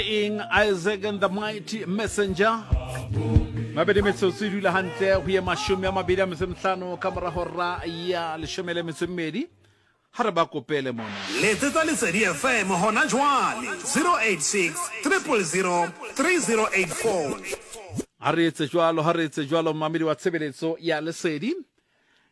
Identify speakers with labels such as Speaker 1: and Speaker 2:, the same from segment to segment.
Speaker 1: Eng Isaac and the Mighty Messenger. Mabedi metsotso e dula hantle go ye 25 ka morago ra ya 12 ga re ba kopele mona.
Speaker 2: Letsetsa Lesedi FM hona jwale 086 000 3084.
Speaker 1: Ha re etse jwalo, ha re etse jwalo mmamedi wa tshebeletso ya Lesedi.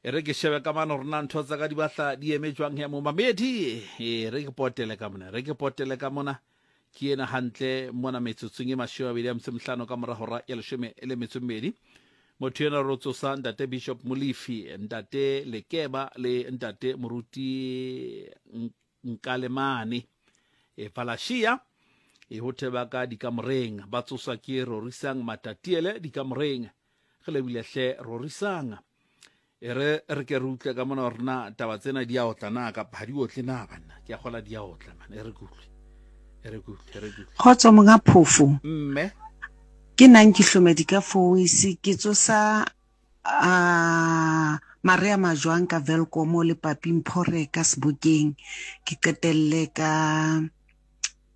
Speaker 1: E re ke shebe ka mane gore na ntho tsa ka di batla di eme jwang he momamedi. E re ke potele ka mona, re ke potele ka mona. Ke ena hantle mona metsotsong e 25 ka mora hora ya 12. Motho ena ro tsosa ntate Bishop Molefi, ntate Lekeba le ntate Moruti Nkalemane. E Falashia e ho theba ka dikamoreng ba tsoswa ke Rorisang Matatiele dikamoreng. Re lebile hle Rorisang. E re re ke re utlwe ka mona gore na taba tsena di a otla na kapa ga di otle na banna. Ke a gola di a otla man. E re ke utlwe. E re ke utlwe, e re ke utlwe.
Speaker 3: Kgotso monga phofo.
Speaker 1: Mme.
Speaker 3: Ke nang ke hlomedi ka Foweise ke tsosa a Maria Majwang ka Welkom le Papi Mphore ka Sebokeng ke qetelle ka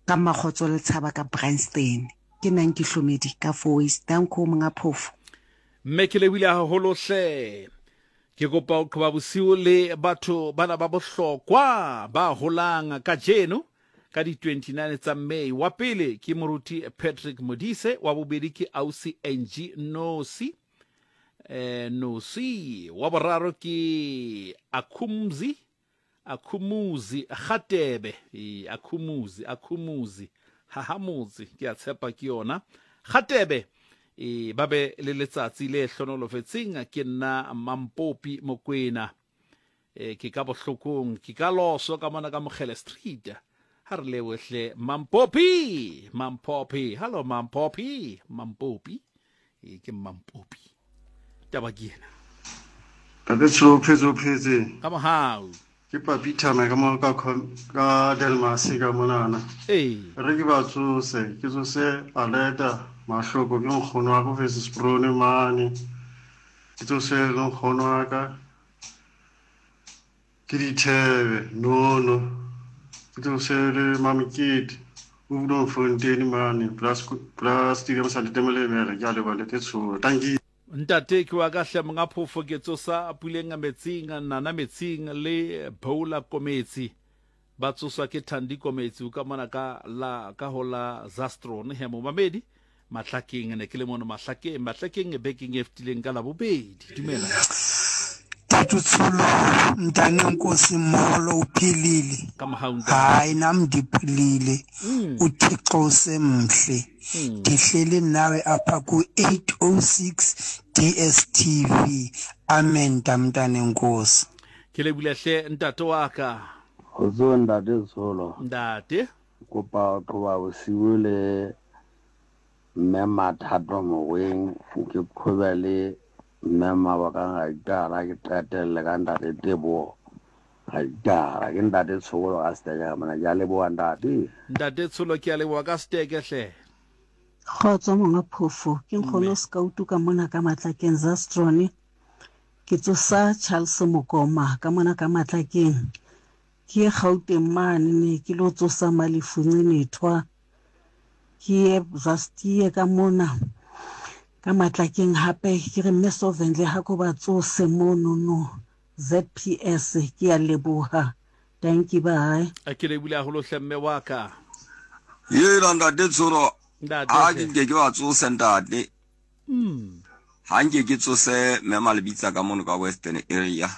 Speaker 3: ka Mmakgotso Letshaba ka Bryanston. Ke nang ke hlomedi ka Foweise. Danko monga phofo.
Speaker 1: Mme ke lebohile haholo hle. Ke kopa ho qhoba bosiu le batho bana ba bohlokwa ba holang kajeno ka di 29 tsa May. Wa pele ke Moruti Patrick Modise, wa bobedi ke Ausi Angie Nosi. Eh, Nosi. Wa boraro ke Akhumzi Akhumuzi Gatebe, ee, Akhumuzi, Akhumuzi, Hahamotse, ke a tshepa ke yona. Gatebe, ee, ba be le letsatsi le hlonolofetseng, ke nna Mampopi Mokwena. E, ke ka bohlokong, ke ka loso ka mona ka Mokgele Street. Ha re lebohe hle Mampopi, Mampopi, hello Mampopi, Mampopi. E, ke Mampopi. Taba ke ena.
Speaker 4: Tate Tsholo o phetse o phetse.
Speaker 1: Ka mohau.
Speaker 4: Ke Papi Thana ka mo ka ka Delmas ka monana.
Speaker 1: Ee.
Speaker 4: Re ke ba tsose, ke tsose Aleta Mahloko ke nkgono wa ko Versus Brone mane. Ke tsose le nkgono wa ka. Ke dithebe nono. Ke tsose le Mamokete o Bloemfontein mane plus plus stadium sa Ntate Molemela. Ke a leboha Ntate Tsholo. Dankie.
Speaker 1: Ntate ke wa ka hle monga phofo ke tsosa puleng metsing nana metsing le Bowla Kometsi ba tsoswa ke Thandi Kometsi o ka mona ka la ka ho la Zastron he momamedi Mahlakeng ne ke le mono Mahlakeng Mahlakeng bekeng e fetileng ka Labobedi dumela.
Speaker 5: Tatu Tsholo mntane Nkosi molo uphilile
Speaker 1: Ka mohau ntate.
Speaker 5: Hayi nam ndiphilile uThixo usemhle ndihleli nawe apha ku 806 DSTV amen tamntane Nkosi.
Speaker 1: Ke lebile hle ntate wa ka.
Speaker 6: Kgotsong ntate Tsholo.
Speaker 1: Ntate.
Speaker 6: Kopa ho qoba bosiu le Mme Mathato Mogoeng, ke qhobe le Mme Mabokang Raitala, ke qetelle ka Ntate Teboho Raitala. Ke Ntate Tsholo ka Seteke ka mona. Ke a leboha Ntate.
Speaker 1: Ntate Tsholo ke a leboha ka Seteke hle.
Speaker 7: Kgotso monga phofo, ke nkgono Skautu ka mona ka Matlakeng Zastrone. Ke tsosa Charles Mokoma ka mona ka Matlakeng. Ke ye Gauteng mane ne ke lo tsosa Malefu Ncenethwa. Ke ye Zastie ka mona ka Matlakeng hape ke re Mme Sovendle ha ko ba tsose monono ZPS. Ke ya leboha. Dankie bye.
Speaker 1: Ke lebohile haholo hle mme wa ka.
Speaker 8: Hela ntate Tsholo,
Speaker 1: Ntate
Speaker 8: ha
Speaker 1: hle.
Speaker 8: ke nke ke wa tsose ntate. Ha nke ke tsose mme Malebitsa ka mono ka Western area.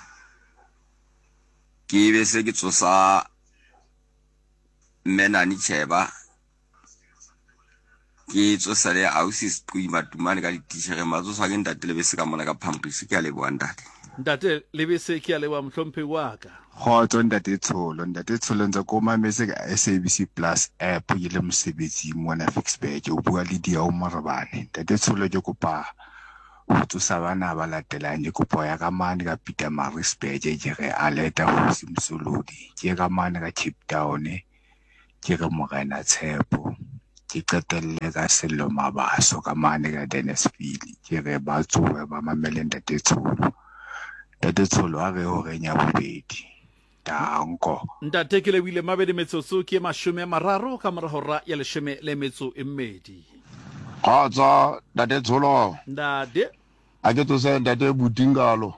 Speaker 8: Ke be se ke tsosa Mme Nani Cheba, ke tsosa le ausi Sequi Matumane ka dititjhereng, ba tsoswa ke ntate Lebese ka mona ka Phamrisi. Ke a leboha ntate.
Speaker 1: Ntate Lebese ke a leboha mohlomphehi wa ka.
Speaker 9: Kgotso ntate Tsholo, ntate Tsholo ntse ko mametse ka SABC Plus app ke le mosebetsing mona Ficksburg, o bua le Diao Morobane. Ntate Tsholo ke kopa Ho tsosa bana ba latelang ke kopo ya ka mane ka Pietermaritzburg ke re Aleta Kgosi Mosolodi, ke ka mane ka Cape Town ke re Morena Tshepo, ke qetelle ka Sello Mabaso ka mane ka Dennisville ke re ba tsohe ba mamele Ntate Tsholo. Ntate Tsholo a re horeng ya bobedi. Danko.
Speaker 1: Ntate ke lebohile mabedi metsotso ke 30 ka mora hora ya leshome le metso e mmedi.
Speaker 10: Kgotso Ntate Tsholo.
Speaker 1: Ntate.
Speaker 10: A ke tsose Ntate Butingalo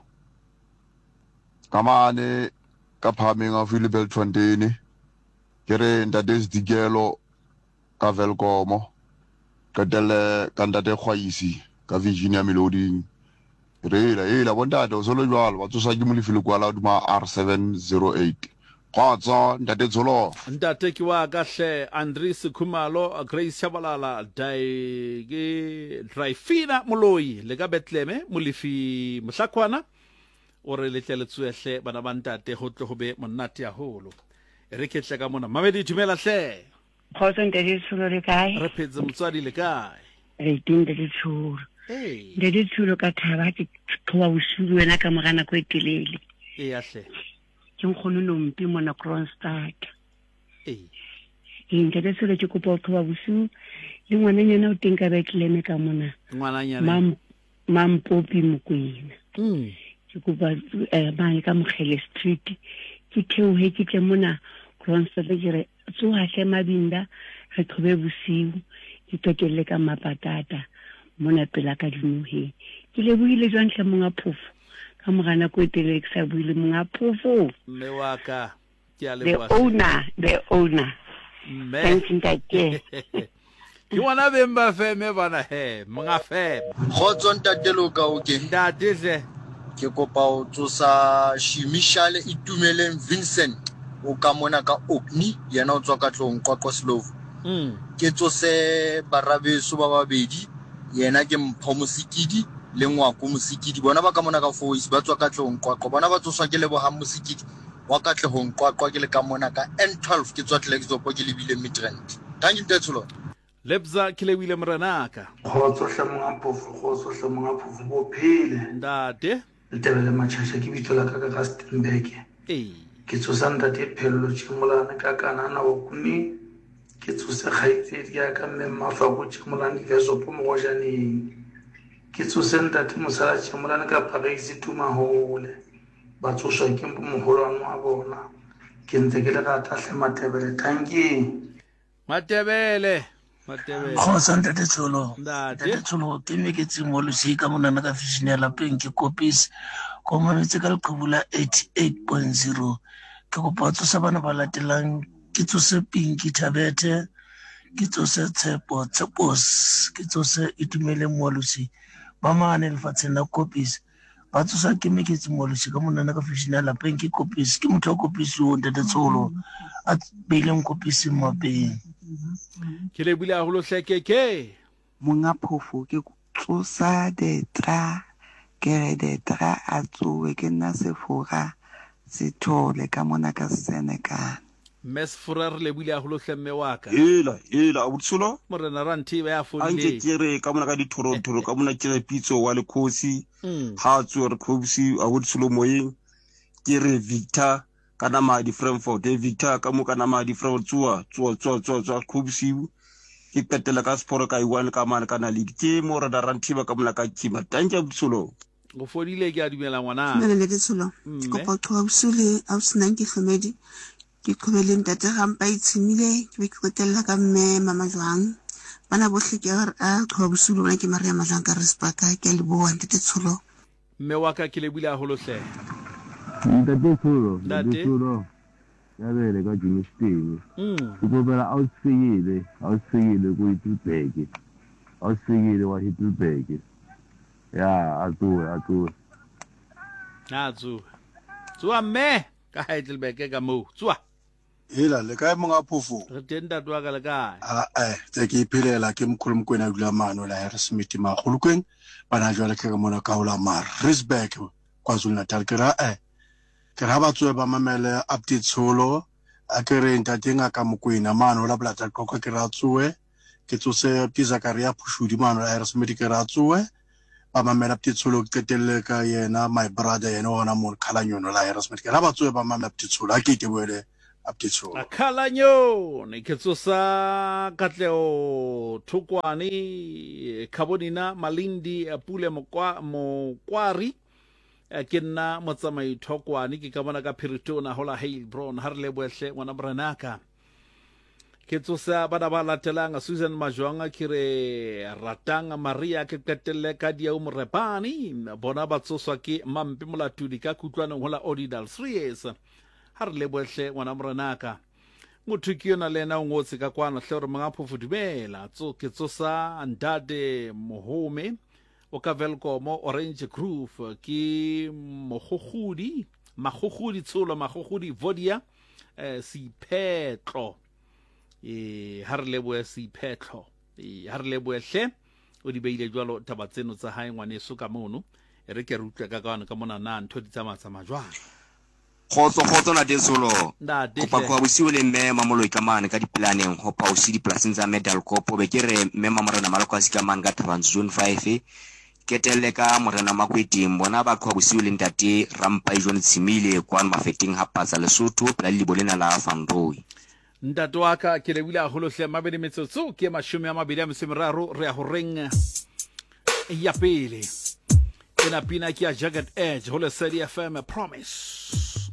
Speaker 10: ka mane ka phahameng haufi le Beltfontein. Ke re Ntate Sedikelo ka Welkomo, qetelle ka Ntate Kgwaisi ka Virginia Meloding. Re hela hela bontate o solo jwalo ba tsosa ke Molefi Lekwala hodima R708. Kgotso Ntate Tsholo.
Speaker 1: Ntate ke wa ka hle Andries Khumalo, Grace Shabalala, Dai ke Drifina Moloi le ka Bethlehem Molefi Mohlakwana o re le tle le tsoe hle bana ba ntate ho tle ho be monate haholo. E re ke tle ka mona. Mamedi dumela hle.
Speaker 11: Kgotso ntate Tsholo le kae?
Speaker 1: Re phetse motswadi le kae?
Speaker 11: Re teng ntate Tsholo. Ntate Tsholo ka thaba ke qhoba bosiu le wena ka mora nako e telele.
Speaker 1: Eya hle.
Speaker 11: Ke nkgono Nompi mona Kroonstad.
Speaker 1: Ee.
Speaker 11: Ee ntate Tsholo ke kopa ho qhoba bosiu le ngwananyana o teng ka Bethlehem ka mona.
Speaker 1: Ngwananyana.
Speaker 11: Mam Mampopi Mokwena. Ke kopa eh, mane ka Mokgele Street ke theohe ke tle mona Kroonstad ke re Tsoha hle Mabinda re qhobe bosiu ke qetelle ka Mmapatata mona pela ka dinoheng. Ke lebohile jwang hle monga phofo ka mora nako e telele ke sa bue le monga phofo.
Speaker 1: Mme wa ka ke a
Speaker 11: The
Speaker 1: leboha hle.
Speaker 11: owner, the owner.
Speaker 1: Mme.
Speaker 11: Thanks ntate.
Speaker 1: Ke bona beng ba feme bana he, monga feme.
Speaker 12: Kgotso ntate Loka o ke.
Speaker 1: Ntate hle.
Speaker 12: Ke kopa ho tsosa Shimishale Itumeleng Vincent o ka mona ka Orkney yena o tswa Katlehong Qwaqwa Slovo. Ke tsose barabeso ba babedi yena ke Mpho Mosikidi le Ngwako Mosikidi bona ba ka mona ka Fourways ba tswa Katlehong Qwaqwa bona ba tsoswa ke Lebohang Mosikidi wa Katlehong Qwaqwa ke le ka mona ka N12 ke tswa Klerksdorp ke lebile Midrand. Thank you Ntate Tsholo.
Speaker 1: Lebza ke lebohile morenaka.
Speaker 13: Kgotso hle monga phofo kgotso hle monga phofo bo phele.
Speaker 1: Ntate.
Speaker 13: Letebele Machasha ke bitso la ka ka Rustenburg.
Speaker 1: Ee.
Speaker 13: Ke tsosa ntate Phello Tšemolane ka Kanana Okuni. Ke tsose kgaitsedi ya ka mme Mmafako Tšemolane Vesopo Mogojaneng. Ke tsose ntate Mosala Tšemolane ka Paris Tumahole. Ba tsoswa ke moholwane wa bona. Ke ntse ke le rata hle Matebele. Tankie.
Speaker 1: Matebele. Matebele.
Speaker 14: Kgotso ntate Tsholo.
Speaker 1: Ntate.
Speaker 14: Ntate Tsholo ke me ke tseng losika monana ka fishini ya lapeng ke kopis. Ko mametse ka leqhubu la 88.0. Ke kopa tsosa bana ba latelang ke tsose Pinky Thabethe, ke tsose Tshepo Tshepos, ke tsose Itumeleng Moalosi ba mane lefatsheng la Kopis. Ba tsosa ke Meketsi Moalosi ka monana ka fishini ya lapeng ke Kopis. Ke motho wa Kopis o ntate Tsholo a beileng Kopis mmapeng.
Speaker 1: Ke lebohile haholo hle Keke.
Speaker 3: Monga phofo ke tsosa Detra ke re Detra a tsowe ke nna Sefora Sethole ka mona ka Senekane.
Speaker 1: Mme Sefora re lebohile haholo hle mme wa ka.
Speaker 15: Hela, hela, abuti Tsholo.
Speaker 1: Morena Ranthiba ya
Speaker 15: A nke
Speaker 1: fodileng.
Speaker 15: ke re ka mona ka dithorothoro ka mona ke re Pitso wa Lekgosi ha a tsoe re Kgosi abuti Tsholo moyeng ke re Victor ka Namadi Frankfort e Victor ka mo ka Namadi Frankfort tsoa tsoa tsoa tsoa tsoa Kgosi ke qetela ka Sefora ka iwane ka mane ka Naledi ke Morena Ranthiba ka mona ka Kima tanki abuti Tsholo.
Speaker 1: O fodile ke a dumela ngwana.
Speaker 16: Dumela Ntate Tsholo. Ke kopa ho qhoba bosiu le ausi Nanki Hlomedi. Ke qhobe le Ntate Rampa Itshimile, ke be ke qetella ka Mme Mama Jwang. Bana bohle ke a qhoba bosiu le bona ke Maria Majwang ka Risbaka. Ke a leboha Ntate Tsholo.
Speaker 1: Mme wa ka ke lebohile haholo hle.
Speaker 6: Ntate Tsholo, Ntate
Speaker 1: Ntate.
Speaker 6: Tsholo, ya bele ka Germiston. Ke kopela ausi Fikile, ausi Fikile ko Heidelberg. Ausi Fikile wa Heidelberg. Ya, a tsohe, a tsohe.
Speaker 1: A tsohe. Tsoha mme ka Heidelberg ka moo. Tsoha.
Speaker 4: Hela, le kae monga phofo?
Speaker 1: Re teng ntate wa ka le kae?
Speaker 4: A eh, tse ke iphelela ke mkhulu Mokwena a dula mane la Harrismith Magolokweng. Bana jwale ke re mona ka hola Maritzburg KwaZulu Natal. Ke ra eh ke ra ba tsoe ba mamele update tsholo. A ke re ntate ngaka Mokwena mane hola Bolata Qwaqwa ke ra tsoe. Ke tsose ke Zakaria Phushudi mano la Harrismith ke re a tsoe ba mamela Ptitsholo ke qetelle ka yena my brother yena hona mono Khalanyono la Harrismith ke ra ba tsoe ba mamela Ptitsholo a ke ke boele Ptitsholo.
Speaker 1: Khalanyone ke tsosa Katleho Thokwane Khabonina Malindi Pule Mokwari. Eh, ke nna motsamai thokwane ke ka bona ka phiritona ho la Heilbron. Ha re lebohe hle ngwana morenaka. Ke tsosa bana ba latelang Susan Majwang ke re ratang Maria ke qetelle ka Diau Morepane bona ba tsoswa ke Mampe Molatudi ka kutlwanong ho la Odidal Sries. Ha re lebohe hle ngwana morenaka. Motho ke yona le yena o ngotse ka kwano hle gore monga phofo dumela tso ke tsosa ntate Mohome o ka Welkomo Orange Groove ke mogogodi magogodi tsholo magogodi Vodia eh, seiphetlo e ha re lebohe seiphetlo e ha re lebohe hle o di beile jwalo taba tseno tsa hae ngwaneso ka mono e re ke re utlwe ka kwano ka mona na ntho di tsamaya tsamaya jwang.
Speaker 8: Kgotso kgotso ntate Tsholo.
Speaker 1: Ntate
Speaker 8: Kopa
Speaker 1: hle.
Speaker 8: qoba bosiu le mme Mamoloi ka mane ka dipolaneng ho Pausi dipolasing tsa Medalkopo be ke re mme Mamorena Malokwasi ka mane ka Thabantsho Zone 5 Ketelle ka Morena Makweteng bona ba qhoba bosiu le ntate Rampai John Tshimile kwano Mafeteng ha Patsa Lesotho pela lelibo lena la Van Rooi.
Speaker 1: Ntate wa ka ke lebohile haholo hle mabedi metsotso ke 23 a metso e meraro re ya horeng ya pele ena pina ke ya Jagged Edge ho Lesedi FM Promise.